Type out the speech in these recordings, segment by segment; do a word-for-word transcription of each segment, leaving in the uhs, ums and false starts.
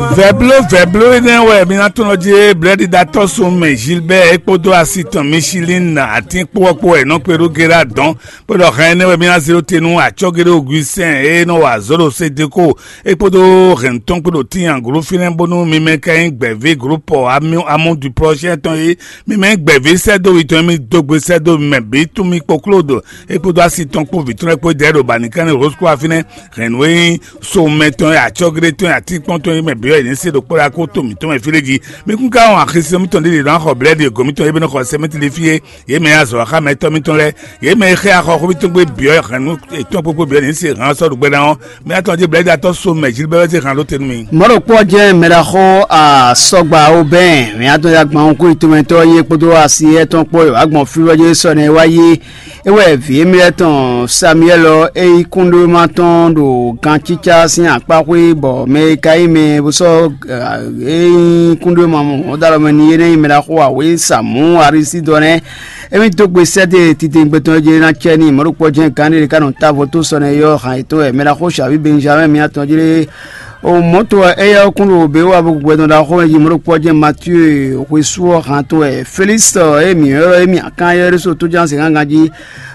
Vɛbló vɛbló énɛ́ wɛ mi ná tɔ́n jí blɛ́ɖiɖatɔ́ sun mɛ Gilbert é kpódó asi tɔn Michelin atín kpó ɔ́ kpó wɛ nɔ kpe ɖó Gérard dɔn, bó ɖɔ hɛn énɛ́ wɛ mi ná zé ɖó te nú acɔ́géɖé Augustin e nɔ wa azɔ̌ ɖo Sedeko é kpódó hɛn tɔn kpó ɖo Tínyanglo fínɛ́, bónú mi mɛ ka nyí gbɛ̌ví groupe Amu du Prochain tɔn é, mi mɛ nyí gbɛ̌ví sɛ́dó wi tɔn é, mi dó gbe sɛ́dó mɛ bǐ tún mi kpó Claude é kpódó asi tɔn kpó vǐ tɔn é kpó dɛ̌ ɖo Banikánni Rose Croix fínɛ́, hɛn nǔ e nyí so mɛ tɔn e acɔ́géɖé tɔn e atínkpɔ́n tɔn e mɛ bǐ ɔ́ è nǐ se ɖo kpɔ́ɖa kó to mǐtɔn mɛ fí ɖé jí. Mi kún ka wɔn axisínɔ mítɔn ɖé ɖě ná xɔ blɛ́ɖi e gǒ mítɔn é bɛ́ nɔ xɔ sɛ mítɔn ɖé fí é. Yě mɛ e azɔ̌ wa xá mɛtɔ́ mítɔn lɛ́ɛ, yě mɛ e xɛ axɔxú mítɔn gbé bǐ ɔ́ hɛn nú yětɔn kpókpó bǐ ɔ́ è nǐ se hǎn sɔ́ ɖo gbɛ́ ná ɔ́. Mɛ atɔn jí blɛ́ɖi atɔ́ so mɛ Gilbert wɛ zé hǎn ɖó te nú mi. Mɔ̌ ɖokpó ɔ́ jɛ́n mɛɖaxó Asɔgba Obɛ́n, mɛ atɔn ya gbɔn kú yitɔmɛtɔ́ yí é kpódó asi étɔn kpó e wǎ gbɔn fí wɛ jɛ́n sɔ́ nɛ́ wá yí. É wɛ vǐ émí lɛ́ɛ tɔn Samuɛ́l ɔ́, é nyí kúnɖéwéma tɔn ɖo gancícá sín akpáxwé, bɔ mɛ e ka nyí mɛ bó sɔ́ é nyí kúnɖéwéma mɔ̌ dó alɔ mɛ n'i é nɛ́ nyí mɛɖaxó awě Samǔ Arisídɔ nɛ́. Émí dó gbe sɛ́ dó titewungbe tɔn e jló ná cɛ n'i mɔ̌ ɖokpó ɔ́ jɛ́n gǎn ɖé ká nɔ tá vo tó sɔ nɛ́ yɔ́ han yětɔn wɛ mɛɖaxó Xaví Benjamɛ́ɛ mǐ atɔn jlé. O mɔ̌ to wɛ éyɛ́ ɔ́ kún ɖo bě wa bo gbɛdɔn ɖaxó mɛ jí mɔ̌ ɖokpó ɔ́ jɛ́n Matíu hwesú ɔ́ han tɔn wɛ Felísitɔ e mǐ ylɔ́ émí akán éyɛ́ ɖésú tójánzǐngángan jí.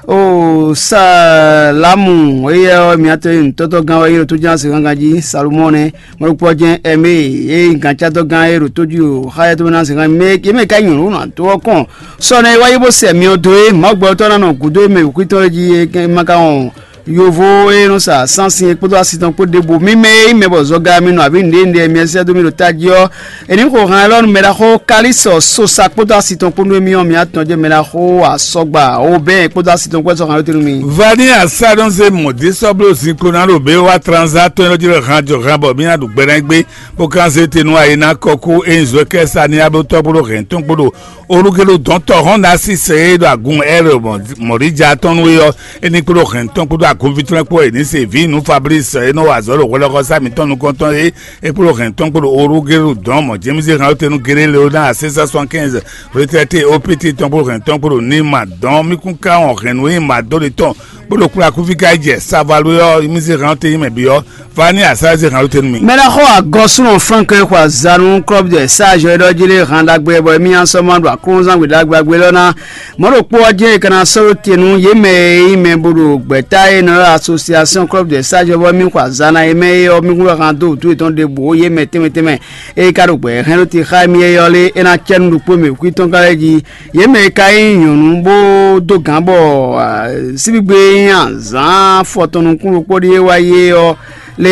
O Salámu éyɛ́ ɔ́ mǐ atɔn e nǔtɔ́tɔ́gán wɛ é ɖo tójánzǐngángan jí Salomɔ́ɔ nɛ́. Mɔ̌ ɖokpó ɔ́ jɛ́n Ɛmée e nyí gǎncátɔ́gán e ɖo tó jí o xá yɛ́tɔ́ ná zǐngán mɛ yě mɛ ka nyɔ̌nu nɔ ado ɔ́ kɔn. Sɔ nɛ́ é wá yi bó sɛ myɔ dó é Mawu gbɛtɔ́ ná nɔ gǔdo e mɛ wǔkwítɔ́ é jí é ma ka wɔn yovo e nɔ sa sánsin é kpódó asi tɔn kpó ɖěbǔ. Mi mɛ e nyí mɛ bɔ zɔga mi nɔ abǐ nǔɖé nǔɖé e mi sɛ́ dó mì ɖo tají ɔ́, è nǐ xo han élɔ́ nú mɛ ɖaxó Kalísɔ Sosa kpódó asi tɔn kpó nú émí ɔ́, mi atɔn jɛ́n mɛ ɖaxó Asɔgba Obɛ́n kpódó asi tɔn kpó wɛ sɔ́ han ɔ́ tɛ́ nú mi. Vani asá ɖɔn se mɔ̌ dé sɔ́ bló zinkpo ná ɖo bě wá tranzá tɔn élɔ́ jí ɖɔ han jɔ han bɔ mí ná ɖu gbɛ ná gbé, bó ka zé te nú ayi ná kɔkú e nyí Zwɛkɛ́ Saniya bó tɔ́ kpódó hɛ̌n tɔn kpódó Olugelu dɔ̌n tɔ́hɔn ná sísɛ e ɖo agun Ɛ́r mɔ̌ɖija tɔn nú é ɔ́, é ní kpódó hɛ̌n tɔn kpódó agunví tɔn kpó é ní se vǐ nú Fablísi e nɔ wa azɔ̌ ɖo hwɛɖɔxɔsá mǐtɔn nukɔntɔn é, é kpódó hɛ̌n tɔn kpódó Olugelu dɔ̌n mɔ̌ Jemízi hɛn ɔ́ te nú Géɖé Leonáa sɛ́n sɛ́n sɔ́nkɛ́nzɛ retrɛté opiti tɔn kpódó hɛ̌n tɔn kpódó ní ma dɔ̌n mí kún ká wɔn hɛ̌nnu e ma dó ɖe tɔn kpódó kplá kúfí ká yi jɛ Savalu ɔ́, mí zé hɛn ɔ́ te nyí mɛ bǐ ɔ́, Vani asá zé hɛn ɔ́ te nú mì. Mɛ ɖaxó agɔsúnɔ Frank e xɔ azǎn nú Club des Sages é ɖɔ jí lé han ɖagbe bɔ émí nya sɔ́ ma ɖo aklúnɔzán gbe ɖagbe ɖagbe lɔ ná. Mɔ̌ ɖokpó ɔ́ jɛ́n è ka ná sɔ́ ɖó te nú yě mɛ e nyí mɛ bo ɖo gbɛ̌ta e nɔ ylɔ́ Association Club des Sages bɔ émí xɔ azǎn ná é mɛ é ɔ́, mí kún wɛ han dó wǔtu yětɔn ɖěbǔ ó yě mɛ tɛnmɛ tɛnmɛ e ka ɖo gbɛ̌ hɛn ɖó te xá émí é ɔ́ lé, é ná cɛ nú ɖokpó mɛ wǔkwítɔ́ ká lɛ́ɛ jí. Yě mɛ e ka nyí nyɔ̌nu bó dó gǎn bɔ síbígbe e nyí azǎn afɔtɔn nukún ɖokpó ɖíe wá yi é ɔ́, lé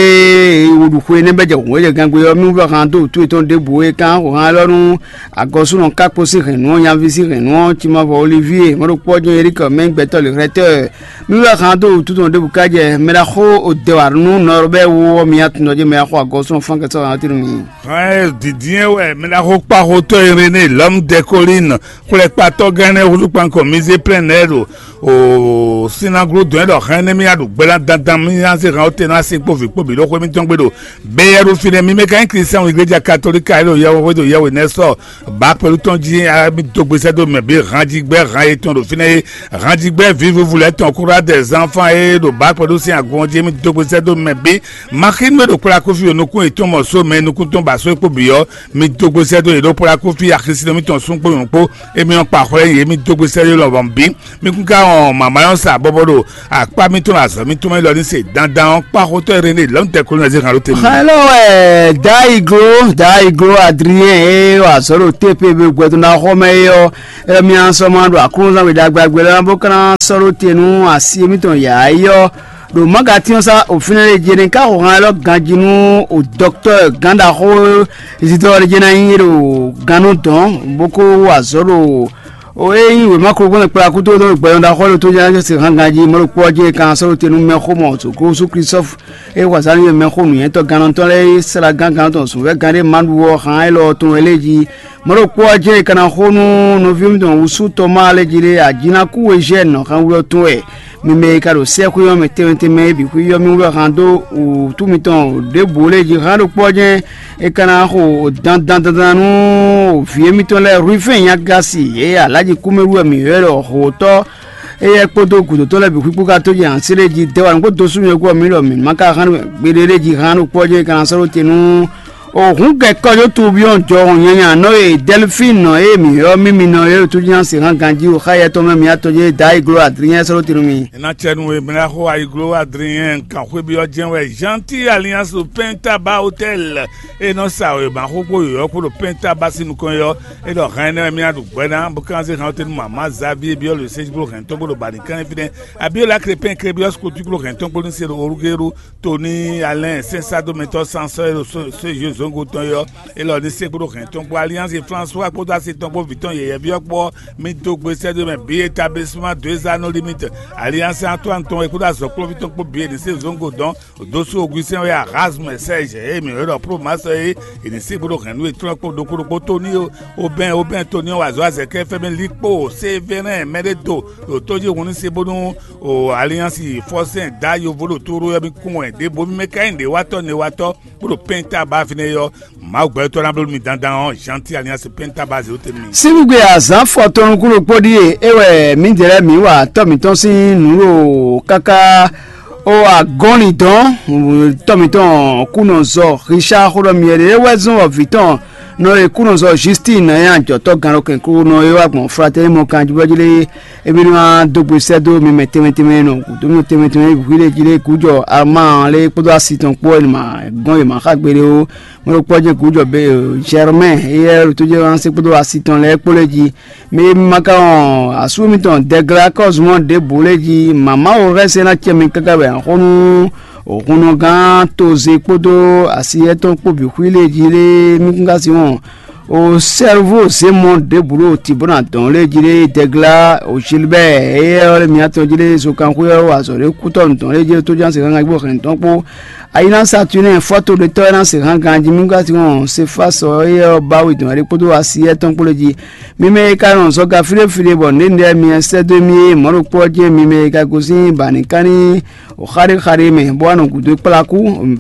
wǔɖuxu énɛ́ bɛ́ jɛ hǔn e jɛ gangbe ɔ́, mí wú han dó wǔtu yětɔn ɖěbǔ e kán xo han élɔ́ nú agɔsúnɔ kákpo sín hɛ̌nnu ɔ́, nyaví sín hɛ̌nnu ɔ́, Cimavɔ Olivie, mɔ̌ ɖokpó ɔ́ jɛ́n Erika mɛ gbɛtɔ́ lě xlɛ́tɔ́. Mí wú han dó wǔtu tɔn ɖěbǔ ká jɛ mɛ ɖaxó Odɛwanú Nɔrbɛ́ wú ɔ́, mi atundɔ jɛ́n mɛ ɖaxó agɔsúnɔ Fánkɛsɔ́ han ɔ́ tɛ́ nú mi. Hɛn dǐndín wɛ mɛ ɖaxó kpáxotɔ́ Iréné lɔ̌m Dɛkolín xwlɛkpatɔ́gán énɛ́ húzú kpankɔ mizé plɛ́n nɛ́ ɖo o sinagló dɔn ɛ ɖɔ hɛn énɛ́ mì ya ɖo gbɛ́ ná dandan mì ná zé hɛn ɔ́ te ná se kpó vǐ kpo bǐ ɖó xwé mítɔn gbe ɖo beyɛ́ɖu fínɛ́. Mi mɛ ka nyí Klístiɛn igleja katolíka e ɖo yɛhweɖo yɛhwe nɛ́ sɔ bǎ kpɛɖú tɔn jí mi dó gbe sɛ́ dó mɛ bǐ hanjigbɛ́ han e tɔn ɖo fínɛ́ é, hanjigbɛ́ vǐvúvú lɛ́ɛ tɔn kúrá dɛ zánfán e ɖo bǎ kpɛɖú sín agun ɔ́ jí mi dó gbe sɛ́ dó mɛ bǐ. Maxínu e ɖo kplá kúfí o nukún yětɔn mɔ só mɛ nukún tɔn ba só é kpo bǐ ɔ́, mi dó gbe sɛ́ dó yě ɖó kplá kúfí axisínɔ mítɔn sún kpó nyɔ̌nu kpó, émí ɔ́ kpa xwlɛ́ yě mi dó gbe sɛ́ dó lɔmɔ̌ bǐ. Mi kún ka wɔn mama nyɔ́ sa bɔbɔ ɖo akpá mítɔn ɖo azɔ̌ mítɔn mɛ élɔ́ ní se dandan ɔ́, kpáxotɔ́ Iréné lɔ̌nu tɛkolónɛzí han ɖó te nú mi. Xá élɔ́ wɛ Daiglo Daiglo Adrien e wa azɔ̌ ɖo T P B gbɛdɔ́ ná xɔ mɛ é ɔ́, é mí ná sɔ́ ma ɖo aklúnɔzán we ɖagbe agbe lɛ́ɛ bó ka ná sɔ́ ɖó te nú asi émítɔn yǎ é ɔ́. Ɖo Magatínɔsá òfin lɛ́ɛ jɛ ní ká xo han élɔ́ ganjí nú o dɔktɔ́ gǎnɖaxó Isidɔ́ɔ ɖé jɛ ná nyí ɖo gannú dɔn bó kó wa azɔ̌ ɖo o e nyí wěma kplɔ́nmɛ kplá kútó ɖo gbɛlɔn ɖaxó lɔ tó jɛ́n se hán ganjí mɔ̌ ɖokpó ɔ́ jɛ kan sɔ́ ɖó te nú mɛxó mɔ̌ Sukúsú Klísɔ́fu e wa zǎn nú mɛxó nǔnywɛ́tɔ́ gannɔtɔ́ lɛ́ɛ e slá gán gannɔtɔn zǔnvɛ́ gán ɖé ma ɖu ɔ́ hán élɔ́ tɔn wɛ lé jí. Mɔ̌ ɖokpó ɔ́ jɛ́n è ka ná xo nú nɔví mitɔn wúsú Tɔmáa lɛ́ɛ jí ɖé Ajinaku e Zhɛ́ɛn nɔ xɛnwú ɔ́ tɔn wɛ. Mi mɛ e ka ɖo sɛ́xwé ɔ́ mɛ tɛnmɛ tɛnmɛ e bǐ xwíyɔ́ mì wú wɛ han dó wǔtu mitɔn ɖěbǔ lɛ́ɛ jí han ɖokpó ɔ́ jɛ́n è ka ná xo dandan dandan nú vǐ émítɔn lɛ́ɛ Rufɛ́n Nyagasi e Alǎji kúmɛwú wɛ mǐ ylɔ́ ɖɔ Hǒtɔ́ éyɛ́ kpódó gǔdotɔ́ lɛ́ɛ bǐ xwíkpó ka tó jɛ hansi lɛ́ɛ jí dɛ́ wa nǔgbó dó súnnu e kú ɔ́ mǐ ɖɔ mǐ ma ka hán gbeɖé lɛ́ɛ jí han ɖokpó ɔ́ jɛ́n è ka ná sɔ́ ɖó te nú Òhún gɛkɔ yó tubyɔn jɔ nyanya nɔ e Delphine nɔ e mǐ ylɔ́ mímí nɔ e tójínásí hán ganjí o xá yɛ tɔn mɛ mǐ atɔjé da iglo adrinyɛn sɔ́ tinu mì. Ena cɛ nu e mlá xó ayiglo adrinyɛn kan xwébyɔ́ jɛ́n wɛ Gentil Alliance ɖo Pɛntaba Hôtel e nɔ sa wěma xó kpó yɔ̌yɔ́ kpó ɖo Pɛntaba sín nukɔn é ɔ́, é ɖɔ hɛn énɛ́ wɛ mí ná ɖu gbɛ́ ná bó kan zé hɛn ɔ́ tɛ́ nú mamá Xavier byɔ́ le sɛ́ kpó hɛn tɔn kpó ɖo Bani kɛ́nɛ́ fínɛ́. Abiola Krépin Krébíɔ́s kó tló hɛn tɔn kpó ní se ɖo Olugéru Toni Alɛn sɛ́nsádómɛtɔ́ sansɔ́ e ɖo sózé zɔngo tɔn é ɔ́, é lɔ ní se kpódó hɛn tɔn kpó Alliance François kpódó asi tɔn kpó vǐ tɔn yɛyɛví ɔ́ kpó ɔ́, mí dó gbe sɛ́ dó mɛ bǐ établissement deux anneaux limite Alliance Antoine tɔn e kpódó azɔ̌kplɔ́ví tɔn kpó bǐ e ní se zɔngo dɔn. Dósú Augustin wɛ Erasme Serge e mǐ ylɔ́ ɖɔ Promax é, è ní se kpódó hɛn nú e tlɔ́n kpó ɖokpó ɖokpó Toni Obɛn Obɛn Toni ɔ́ wa azɔ̌ azɛ̌kɛ́ fɛ́mɛ líkpó Sévérin mɛɖé do ɖo tó jí hun ní se bónú o Alliance fɔsɛn da yovo ɖo tóɖó ɔ́ mì kún wɛ ɖěbǔ mì mɛ ka nyí nǔɖéwatɔ́ newatɔ́ bó ɖo pɛ́n ta ba fínɛ́ é ɔ́, Mawu gbɛtɔ́ ná bló mi dandan ɔ́, Gentil Alliance pɛ́n ta ba zě tɛ́ nú mi. Síbígbe azǎn fɔtɔn nukúnnú kpó ɖíe é wɛ mǐdɛɛ lɛ́ɛ mǐ wa tɔ́ mǐtɔn sín nǔ ɖo káká ó agɔ́nlin dɔn tɔ́ mǐtɔn kúnɔ zɔ Richard xó ɖɔ myɛ ɖě wɛ zɔn wɔ vǐ tɔn nɔ e kúnɔ zɔ Justine nya jɔ̌tɔ́ gannɔkɛnklunɔ e wá gbɔn Fratɛ́ni mɔ kanjúbɔ́ jí lé. Émí ní wá dó gbe sɛ́ dó mi mɛ tɛnmɛ tɛnmɛ nɔ gǔdo nɔ tɛnmɛ tɛnmɛ wǐ lě jí lé gǔjɔ Armáan lé kpódó asi tɔn kpó wɛ ma gɔ́n yě ma xá gbeɖé ó. Mɛ ɖokpó ɔ́ jɛ gǔjɔ be Germain éyɛ́ ɖo tó jɛ wá se kpódó asi tɔn lɛ́ɛ kpó lé jí. Mɛ e ma ka wɔn asú mitɔn Dɛgla kɔ́zumɔ ɖěbǔ lé jí mama wo hɛn se ná cɛ mi káká wɛ axɔ́nú òhunnɔgán toze kpódó asi étɔn kpó bǐ xwí lé jí lé mí kún ka si wɔn. O sɛ́rúvú zěmɔ ɖěbǔ ɖo tǐ bó ná dɔn lé jí lé Dɛgla o Gilbert éyɛ́ ɔ́ lé mǐtɔn jí lé zokanxwé ɔ́ wa azɔ̌ ɖé kútɔ́ nǔ dɔn lé jí lé tóján se hángan gbó hɛn tɔn kpó. Ayi ná Saturnin fɔ́todetɔ́ ɔ́ ná se hángan jí mí ka si wɔn Sefásɔ éyɛ́ ɔ́ bá wí dɔn ɖé kpódó asi étɔn kpó lé jí. Mi mɛ e ka nɔ zɔga fíɖéfíɖé bɔ nǔɖénúɖé mi sɛ́ dó mì é mɔ̌ ɖokpó ɔ́ jɛ́n mi mɛ e ka gosín ba nǐ ká ní xaɖéxaɖé mɛ bó wá nɔ gǔdo kplá kú,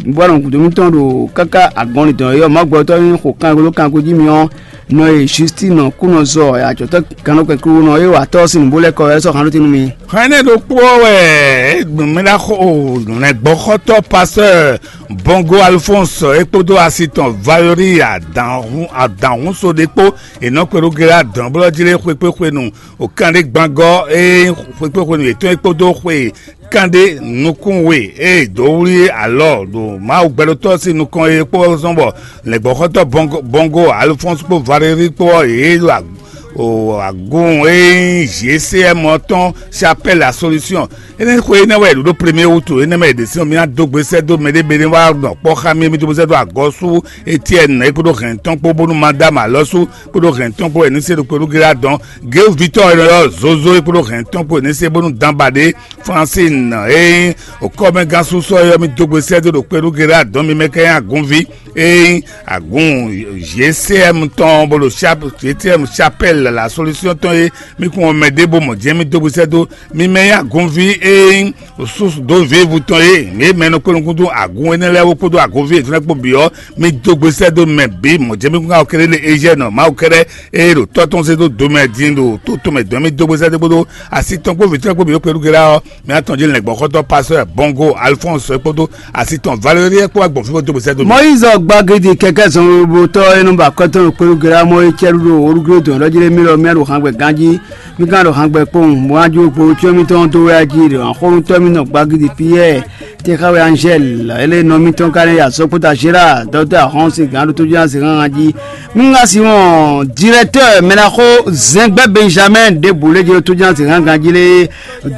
bó wá nɔ gǔdo mitɔn ɖo káká agɔnlin dɔn yɔ Mawu gbɛtɔ́ nyí xo kangló kango jí mi ɔ́, nɔ e Justin kú nɔ zɔ ajɔ̌tɔ́ gannɔkɛn kúnɔ e wa tɔ́ sín nǔbó lɛ́ɛ kɔ wɛ sɔ́ han ɖó te nú mi. Hɛn énɛ́ ɖokpó ɔ́ wɛ mɛ ná xo nǔnɛgbɔxɔtɔ́ Pasteur Bongo Alphonse é kpódó asi tɔn Valérie adǎnhún adǎnhúnso ɖé kpó è nɔ kpe ɖó Gérard dɔ̌nblɔ́ jí lé xwekpéxwenu o kanɖégbangɔ́ e xwekpéxwenu yětɔn é kpódó xwe kanɖé nukún we e dǒ wlí alɔ ɖo Mawu gbɛɖótɔ́ sín nukɔn é kpó zɔn bɔ lɛ̌ngbɔ́xɔ́tɔ́ Bongo Alphonse kpó Valérie kpó ɔ́ yě ɖo agun e nyí G C M ɔ́ tɔn Chapelle la Solution. Énɛ́ xwe énɛ́ wɛ è ɖǒ ɖó premier wutu énɛ́ mɛ è ɖe sín ɔ́, mì ná dó gbe sɛ́ dó mɛɖé mɛɖé wá nɔ kpɔ́ xá mì, mì dó gbe sɛ́ dó agɔ́ sú Etienne é kpódó hɛn tɔn kpó bónú Madame Alɔsu kpódó hɛn tɔn kpó wɛ ní se ɖo kpé nú Gérard dɔn. Géwu Victor e nɔ ylɔ́ Zozo é kpódó hɛn tɔn kpó wɛ ní se bónú Dan Baɖé Francine e nyí okɔ́mɛgán súsɔ é ɔ́, mì dó gbe sɛ́ dó ɖo kpé nú Gérard dɔn mi mɛ ká nyí agunví e nyí agun G C M tɔn bó ɖo G C M Chapelle la Solution tɔn é. Mì kún ɔ́ mɛ ɖěbǔ mɔ̌ jɛ́n mì dó gbe sɛ́ dó mi mɛ nyí agunví e nyí susu dó vǐvu tɔn e mǐ mɛ nɔ kpé nukúnnú agun énɛ́ lɛ́ɛ wó kpódó agunví yětɔn lɛ́ɛ kpó bǐ ɔ́, mì dó gbe sɛ́ dó mɛ bǐ mɔ̌ jɛ́n mì kún ká ɔ́ kéré lé Eziɛ́nɔ Mawu kɛ́ɖɛ́ e ɖo tɔ́ tɔn zé dó do mɛ din ɖo tó tɔn mɛ dɔn mì dó gbe sɛ́ dó kpódó asi tɔn kpó vǐ tɔn kpó bǐ ɖó kpé nú Gérard ɔ́, mì atɔn jí lɛ̌ngbɔ́xɔ́tɔ́ Pasteur Bongo Alphonse kpódó asi tɔn Valérie kpó wá gbɔn fí bó dó gbe sɛ́ dó mì. Mɔyízi gbagidi kɛkɛ zɔnwolobotɔ e nɔ ba kɔtɔn ɖo kpéɖu gérá mɔ e cɛ ɖu ɖo orúkúlé dɔn ɖɔ jí lé mí lɔ mía ɖo hǎngbɛ gán jí. Mí gán ɖo hǎngbɛ kpowun bó wá jó kpo cyɔ mítɔn dó wɛ jí ɖo axɔ́nútɔ́ mítɔn gbagidi Piyɛ́ɛ, Texawɛ Angèle, ele nɔ mítɔn ka nɛ ya sɔkpota Gérard, dɔkítɔ́ Ahɔn sin gǎn ɖo tójúná zǐngángan jí. Mí ŋá si wɔn directeur mɛɖaxó Zɛngbɛ Benjamin ɖěbǔ lé jí ɖo tójúná zǐngángan jí lé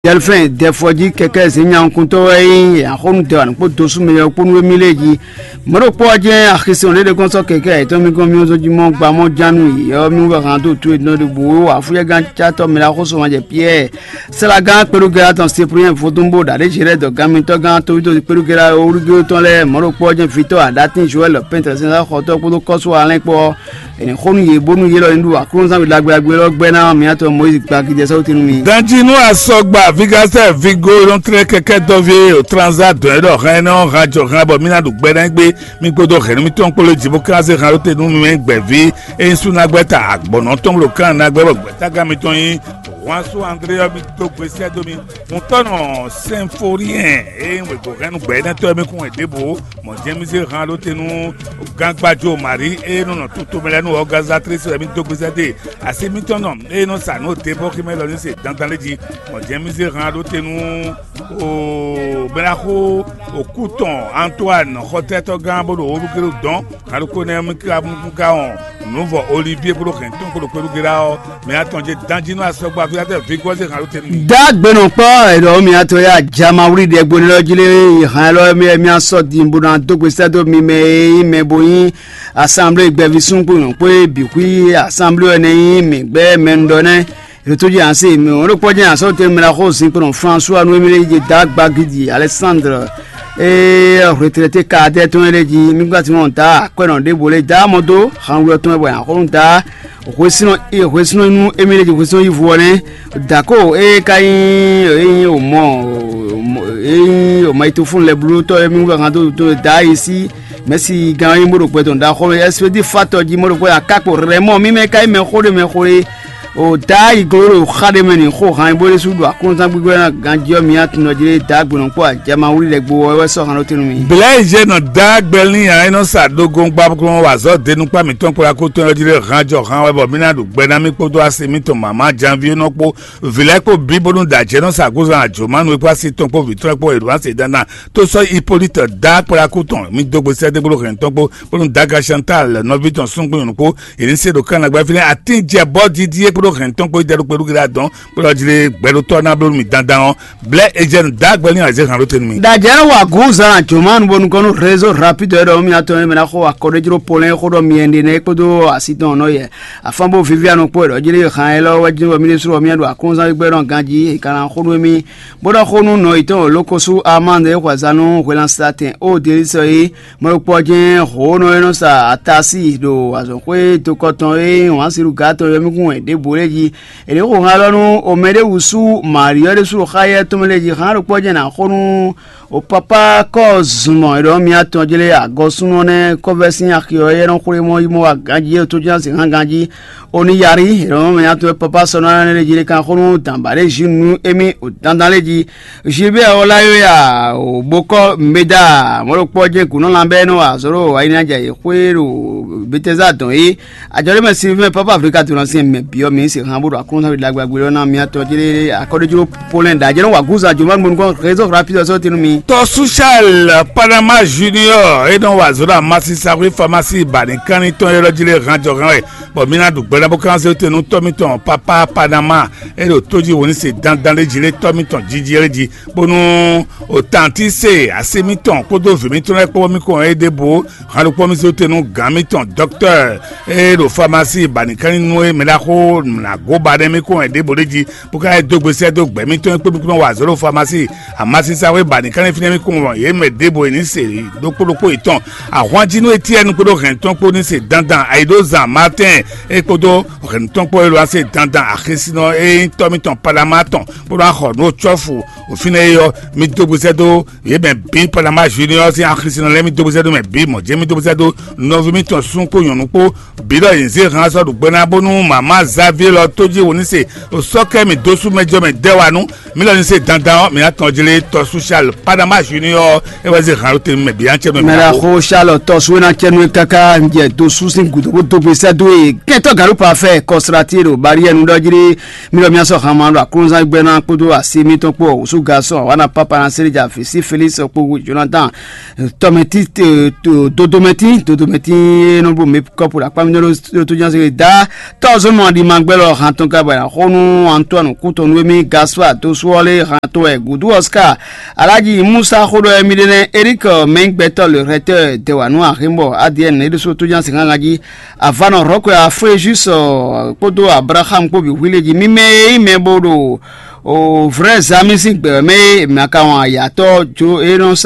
Delphin Dɛfɔjí kɛkɛ zě nyankúntɔ́ wɛ nyí axɔ́nú dɛwǎn kpó dosú mɛ yɔkpónú e mí lé jí. Mɔ̌ ɖokpó ɔ́ jɛ́n axisɔn ɖé ɖé kɔn sɔ́ kɛkɛ ayǐtɔn mì gɔ́n mì zɔ́n jí mɔ gba mɔ jánu yě ɔ́ mì wɛ hán dó tú e nɔ ɖo bǔ wá fúyɛ́gán cátɔ́ mɛ ɖaxó sɔmajɛ Piyɛ́ɛ. Sɛ́lágán kpeɖugɛ́lá tɔn Sipriɛn vodún bó ɖa ɖě Zerɛ́ dɔ gán mitɔ́ gán tóvídó kpeɖugɛ́lá wúlúgbéwú tɔn lɛ́ɛ mɔ̌ ɖokpó ɔ́ jɛ́n vitɔ́ aɖatín Joɛ́l pɛ́ntɛ́ sɛnzá xɔtɔ́ kpódó kɔ́sú alɛ́n kpó ɔ́, è nǐ xo nú yě bónú yě lɔ ní ɖu aklúnɔzángbé ɖagbe ɖagbe élɔ́ gbɛ́ ná mǐtɔn Mɔyízi gbagídɛ sɔ́ wútu nú mi. Danjinu asɔgba Vigasɛ Vigo e nɔ tlɛ́ kɛkɛ dɔví e o tranza dɔn ɛ ɖɔ hɛn nɔ hàn jɔ hàn bɔ mí ná ɖu gbɛ ná gbé mí kpódó hɛ̌nnu mítɔn kpó lé jǐ bó ká zé hàn ɖó te nú mí gbɛ̌ví e nyí súnagbɛ́ta agbɔ̌nɔ tɔn ɖo kán ná gbɛ́ bɔ gbɛ̌tágán mitɔn nyí Wansu André ɔ́, mi dó gbe sɛ́ dó mi. Ŋutɔ́nɔ Sɛnfoliɛn e nyí wěgbóhɛnnú gbɛ̌nɛtɔ́ e mi kún wɛ ɖěbǔ mɔ̌ jɛ́n mi zé han ɖó te nú gangbajo Mari e nɔ nɔ tutomɛ lɛ́ɛ nú ɔgazatlísi wɛ mi dó gbe sɛ́ dó e. Asi mitɔn nɔ e nɔ sa nǔ ɖěbɔ́ximɛ lɔ ní se dandan lé jí, mɔ̌ jɛ́n mi zé han ɖó te nú o bɛ́naxó òkú tɔn Antoine xɔtɛ́tɔ́gán bó ɖo olúgéɖo dɔn. Aɖókónɛ́ mí ka mú ka wɔn nǔvɔ Olivíe kpódó hɛ̌ntɔn kpódó kpéɖúgérá ɔ́, mɛ atɔn ce dán jí nú asɔgbɔ afíátɛ Vigɔ́ze Halótɛnu. Dá gbenɔ kpɔ́ ɛlɔ mì atɔ ya jama wlí ɖɛ gbóni lɔ jí lé. Hàn ɛlɔ mì mì asɔ din bó ná dó gbe sɛ́ dó mi mɛ e nyí mɛ bó nyí asanblé gbɛví sún kpó nyɔ̌ kpó e bǐ xwí asanblé ɔ́ nɛ́ nyí mǐ gbɛ́ mɛ un ɖɔ nɛ́. Ètò jẹ́ àṣẹ mi ò ló kpɔ́ jẹ́ àṣọ tẹ mìíràn xó sin kpɔnɔ François Noémie jẹ dá gbagidi Alexandre ee retraité cadre tɔn lé jí mi gbati mɔ dá akwɛnɔ ɖěvo lé dá mɔ dó hanwlɔ tɔn bɔ yàn xó dá hwesínɔ hwesínɔ nú émí lé jí hwesínɔ yí vo ɔ́ nɛ́. Dako ee ka nyí ee nyí o mɔ ee nyí o ma yi to fún lɛ bló tɔ émí wúlò hàn dó dó dá yi sí mɛsi gán yi mó ɖo gbɛ tɔn dá xɔmɛ expédi fatɔ jí mó ɖo gbɛ akákpo rɛ mɔ mímɛ ka nyí mɛ xó ɖé mɛ xó ɖé. O dá yi gló ɖo xa ɖé mɛ n'i xó han bó ɖésú ɖo akɔnzán gbígbó ná ganjí ɔ́ mi atúnɔ jí dá gbɔnɔ kpó ajama wlí lɛ gbo ɔ́ wɛ sɔ́ han ɖó tɛ́nú mi. Blɛ̌ yi jɛ nɔ dá gbɛlín ǎ é nɔ sa ɖógóngbáglɔ́n wa azɔ̌ denukpá mǐtɔn kpó akótɔn ɔ́ jí ɖé han jɔ han wɛ bɔ mí ná ɖo gbɛ ná mì kpódó asi mítɔn mǎmá janvier nɔ kpó vǐ lɛ́ɛ kpó bí bónú da jɛ nɔ sa gúzan ajǒmánu e kpó asi tɔn kpó vǐ tɔn kpó e ɖo asi dandan tó sɔ́ Hipólíte dá kpó akótɔn mí dó gbe sɛ́dégblo hɛn tɔn kpó bónú daga Chantal nɔví tɔn súngbó nyɔ̌nu kpó yě ní se ɖo kánnagbá fínɛ́ atín jɛ bɔ́ dídí é kpódó hɛn tɔn kpó yi dɛ ɖo kpɛɖú gíra dɔn kpɔlɔ jí lé gbɛɖótɔ́ ná bló mi dandan ɔ́ blɛ́ ejɛ́nu dá gbɛlín azé han ɖó te nú mi. Dajɛ́nú wa gǔ zan jǒmánu bónú gɔ́ nú rézo rapide ɔ́ ɖɔ mì atɔn e mɛ ná xo akɔɖéjló polɛ́n xó ɖɔ mi ɛnɖe nɛ́ kpódó asi tɔn nɔ yɛ afán bó vivianu kpó ɖɔ jí lé han élɔ́ wɛ jí wɛ mì ɖésú wɛ mì ɖo akɔnzán gbígbɛ́ nɔ ganjí è ka ná xó nú émí bó ɖɔ xó nú nɔ yětɔn lókosú amande e xwɛzán nú hwelánsa tɛn ó delísɔ é mɔ̌ ɖokpó ɔ́ jɛ́n hǒnɔ e nɔ sa atasi ɖo azɔ̌xwé dokɔ tɔn e nyí wǎn siɖuga tɔn yɔmíkún wɛ ɖěbǔ lɛ́ɛ jí. È nǐ xo han élɔ́ nú omɛ ɖé wǔ sú Mari ɔ́ ɖésú ɖo xá éyɛ́ tɔn mɛ lɛ́ɛ jí. Han ɖokpó ɔ́ jɛ́n è nǎ xo nú o papá kɔ́ zunmɔ è ɖɔ mì atɔn jlé agɔsúnɔ nɛ́ kɔ́vɛ́ sín axi ɔ́ éyɛ́ nɔ xwlé mɔ yi mɔ wá ganjí é tó jɛ́n sin hán ganjí. Oniyari è ɖɔ mɛ atɔn papá sɔ́ nɔ lɛ́ɛ lɛ́ɛ jí lé kan xo nú dǎnbǎ ɖé jí nú émí o dandan lɛ́ɛ jí. Gilbert Olayoya o bokɔ Mbeda mɔɖokpɔ jɛ gǔnɔ lanbɛ nɔ azɔ̌ ɖo ayinajɛ yi xwé ɖo Betɛza dɔn yi. Ajɔ̌ ɖé mɛ Sylvain Papa Afrika to nɔ sin mɛ biɔ mi se han bó ɖo akɔnɔnɔ ɖagbe agbe lɔ na mi atɔ jɛ akɔɖéjlo polɛn da jɛ nɔ wa gúzan joma gbɔn nukɔ réseau rapide sɔ tinu mi. Tɔ Sushal Panama Junior e nɔ wa azɔ̌ ɖo amasi saxwé famasi ba ní kánní tɔn e lɔ jí lé han jɔ hɛn wɛ bɔ mi ná ɖu gbɛɖá bó kán se te nú tɔ́ mitɔn Papa Panama e ɖo tó jí wǒ ní se dandan lé jí lé tɔ́ mitɔn jiji lé jí bónú o tantí se asi mítɔn kpódó vǐ mítɔn lɛ́ɛ kpó mí kɔn é ɖěbǔ han ɖokpó mí zé te nú gǎn mítɔn dɔktɔ́ e ɖo famasi ba nǐkánní nú é mɛ ɖaxó nǎgó ba nɛ́ mí kɔn é ɖěbǔ ɖé jí bó ka é dó gbe sɛ́ dó gbɛ̌ mítɔn é kpé mí kún wa azɔ̌ ɖo famasi amasisaxwé ba nǐkánní fínɛ́ mí kún wɔn yě mɛ ɖěbǔ é ní se ɖokpó ɖokpó yětɔn ahwanjínú Etiɛ́nu kpódó hɛ̌ntɔn kpó ní se dandan ayǐɖózan Martɛ́n é kpódó hɛ̌ntɔn kpó é ɖo ase dandan axésinɔ é nyí tɔ́ mítɔn Palama tɔn bó ná xɔ nǔ cɔ́fu òfin e yɔ mi dó gbesɛ dó yě mɛ bǐ Palama Junior sín axlísínɔ lɛ́ɛ mi dó gbesɛ dó mɛ bǐ mɔ̌ jɛ́n mi dó gbesɛ dó nɔví mitɔn sún kpó nyɔ̌nu kpó bǐ ɖɔ yě zé han sɔ́ ɖo gbɛ ná bónú mama Xavier lɔ tó jí wǒ ní se sɔ́ kɛ mì dó sú mɛ jɔ mɛ dɛ́ wa nú mi lɔ ní se dandan ɔ́ mi ná tɔn jlé tɔ social Palama Junior é wɛ zé han ló te mɛ bǐ ná cɛ nú mɛ mɛ la xo Charles tɔ suwe ná cɛ nú káká ń jɛ dó sú sín gǔdo bó dó gbesɛ dó e kɛntɔ gàlú pa fɛ kɔsra tí e ɖo barrière nu ɖɔ jí. Míɖɔ mía sɔ́ hanma ɖo aklúnzán gbɛ́ ná kpódó asi mítɔn kpó wǔsú gasɔn wana papa ná séré ja fǐ sí Félix kpó Jonathan tɔmɛtí dodomɛtí dodomɛtí e nɔ bó mɛ kɔpu ɖo akpá mítɔn ɖó tó ján séré dá tɔ́zɔnɔ ɖimagbɛ́ lɔ han tɔn ka bɔ xó nú Antoine kútɔnú émí Gaspard tó sú ɔ́ lé han tɔn wɛ gǔdú Oscar Alhaji Musa xó ɖɔ émí ɖé nɛ́ Eric Mɛngbɛtɔ le rɛtɛ dɛwanu ahémbɔ A D N é ɖésú tó ján séré hángan jí. Avanɔ Rɔkwe Afrejus kpódó Abraham kpó bǐ hwilé jí mímɛ́ e nyí mɛ bó ɖo vrɛ́ zami sín gbɛ̌ mɛ e mǐ ka wɔn ayatɔ́ jó é nɔ